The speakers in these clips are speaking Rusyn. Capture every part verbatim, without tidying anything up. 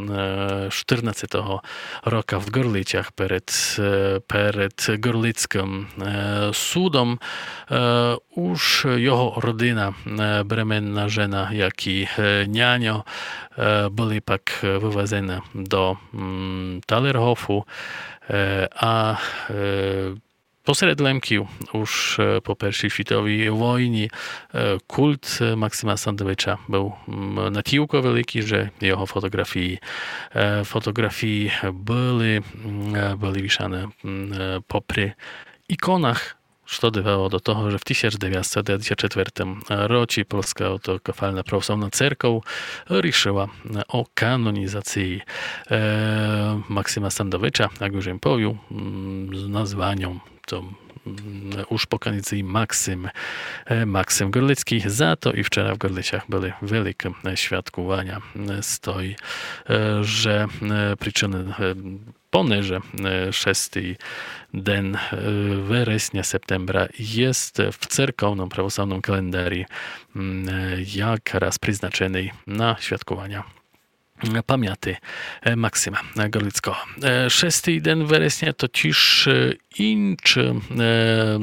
е, штырнадцятого рока в Ґорлицях перед, е, перед Ґорлицькым, е, судом, е, уж його родина, е, бременна жена, як і, е, няньо, е, были пак вывезены до, м, Талергофу, е, а, е, посеред Лемків уж, е, по Першій світовій войні, е, культ, е, Максима Сандовича быв, м, натілько великій, же його фотоґрафії, е, фотоґрафії были, м, е, были вішаны, м, е, попри іконах, што довело до того, же в тисяч девятсто девятдесят четвертым році Польска Автокефална Православна Церков рішыла, е, о канонізації, е, Максима Сандовича, як уж єм повіл, м, з названьом то, м, уж по канонізації Максим, е, Максим Ґорлицькій. За то і вчера в Ґорлицях были великы, е, святкуваня, е, з той, е, же, е, причыны, е, понеже, е, шестый ден, е, вересня, септембра єст в церковным православным календарі, м, е, якраз призначеный на святкуваня, м, памяти, е, Максима, е, Ґорлицького. Е, шестый ден вересня то тіж, е, інчы, е, е,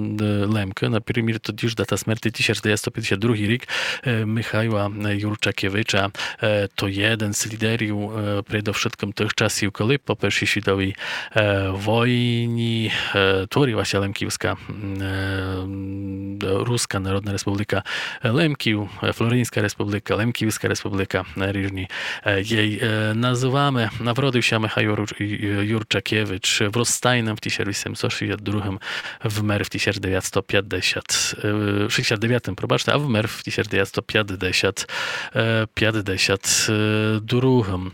Лемкы, напримір, то тіж дата смерти тисяч девятсто пятдесят другій рік, е, Михайла, е, Юрчакевича, е, то єден з лідерів, е, предовшыткым тых часів, коли по Першій світовій, е, войні, е, творила ся Лемківска, м, е, м, Руска Народна Республіка Лемків, е, Флоринська Республіка, Лемківска Республіка, е, ріжні, е, єй, е, называме. Народив ся Михайло Руч-, Ю-, Юрчакевич в Розтайным в тисяч вісемсот шістдесят другым, вмер в тисяч девятсто пятдесят, е, шістдесят девятым, пробачте, а вмер в тисяч девятсто пятдесят, е, пятдесят другым.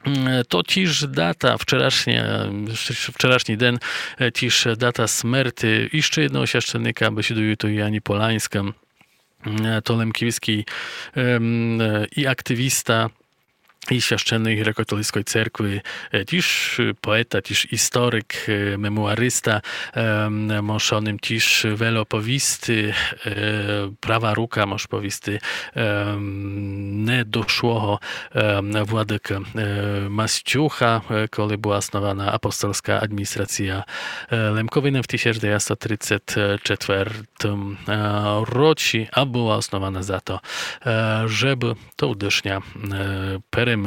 М, то тіж дата, вчорашня, вчорашній ден, е, тіж дата смерти іщы єдного священника, бесідую ту Яні Поланьска, м, то лемківскій, ем, е, і активіста, і священник греко-католицькой церкви, е, тіж поета, тіж історик, е, мемуариста, ем, мож о ним тіж вельо повісти, е, права рука, мож повісти, ем, недошлого, ем, владыкы, е, Мастюха, е, коли была основана апостольска адміністрація, е, Лемковины в тисяч девятсто тридцять четвертым, е, році, а была основана за то, е, жебы тогдышня, е, перемыска,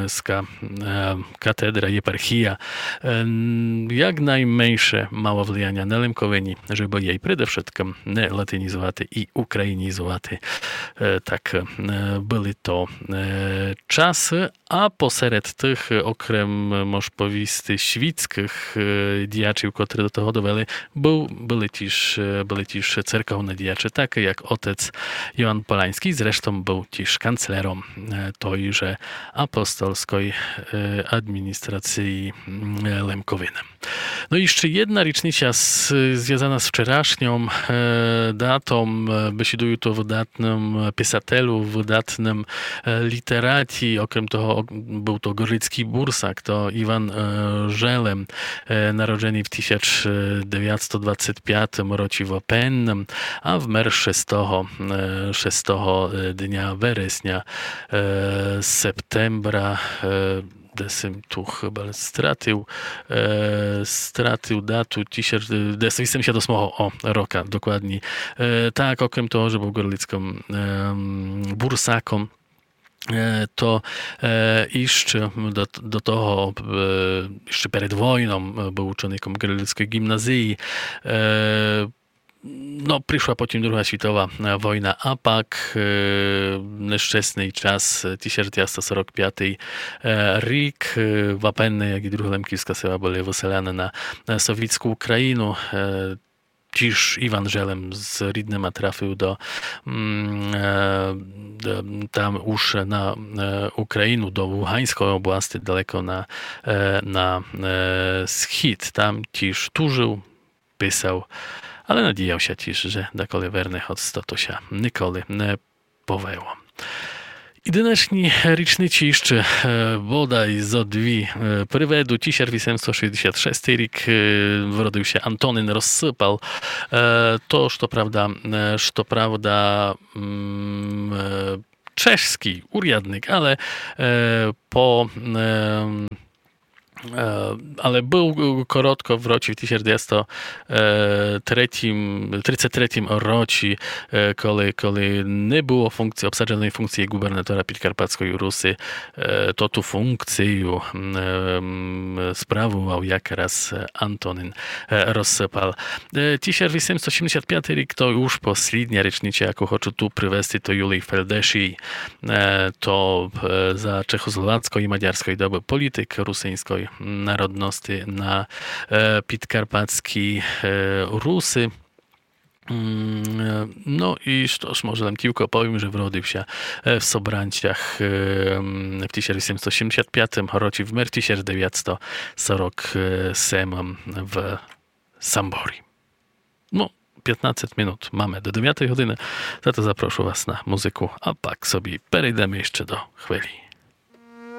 е, катедра, єпархія, е, н-, як найменше мала влияня на Лемковині, жебы єй предовшыткым не латинізувати і українізувати. Е, так, е, были то, е, часы, а посеред тых, е, окрем, е, мож повісти, світськых, е, діячів, котры до того довели, Быв, были тіж, е, были тіж церковны діячы, такы як отець Йоан Поланьскій, зрештом быв тіж канцлером, е, той же апостольской, е, адміністрації, м, е, Лемковины. Но і іщы єдна річниця з-, звязана з вчорашньом, е, датом, е, бесідую ту о выдатным писателю, выдатным, е, літераті, окрем того, о-, быв то ґорлицькій бурсак, то Іван, е, Желем, е, народженый в тисяч девятсто двадцять пятым році в Опенным, а вмер шестого, е, шестого, е, дня вересня, е, септембра, е, де сем ту хыба стратив, е, стратив дату, тисяч, е, де сем вісемдесят восьмого, о, рока, докладні. Е, так, окрем того, же быв ґорлицькым, ем, бурсаком, е, то, е, іщы до, до того, е, іщы перед войном, е, быв учеником Ґорлицькой ґімназії. Е, но, пришла потім друга світова, е, война, а пак, е, нещесный час, е, тисяч девятсто сорок пятый, е, рік, е, Вапенне, як і друга лемківска села, были выселяны на, на совітську Україну. Е, тіж Іван Желем з рідныма трафив до, м, е, до, там уж на, е, Україну, до Луганськой области, далеко на, е, на, е, схід. Там тіж тужив, писав, але надіяв ся тіж, же даколи верне, хоц то, то ся николи не повело. І днешні річниці іщы, е, бодай зо дві, е, приведу. Тисяч вісемсот шістдесят шестый рік, е, вродив ся Антонин Розсыпал. Е, то, што правда, е, што правда, м, е, чешскій урядник, але е, по е, е, але быв коротко в році в тисяч девятсто тридцять третім році, е, коли, коли не было функції, обсадженой функції губернатора Підкарпатськой Руси, е, то ту функцію м, справовав якраз Антонин е, Розсыпал. Е, тисяч вісемсто сімдесят пятый рік то уж послідня річнича, яку хочу ту привести, то Юлій Фельдешій. Е, то е, за чехословацькой і мадярськой добы політик русинськой народности на е, підкарпатській е, Руси. М, е, Но і што ж, може лем тілько повім, же вродив ся е, в Собранцях е, м, в тисяч вісемсто сімдесят пятым році, вмер тисяч девятсто сорок семым в Самборі. Но, пятнадцять минут маме до девятой годины, зато запрошу вас на музыку, а пак собі перейдеме іщы до хвилі.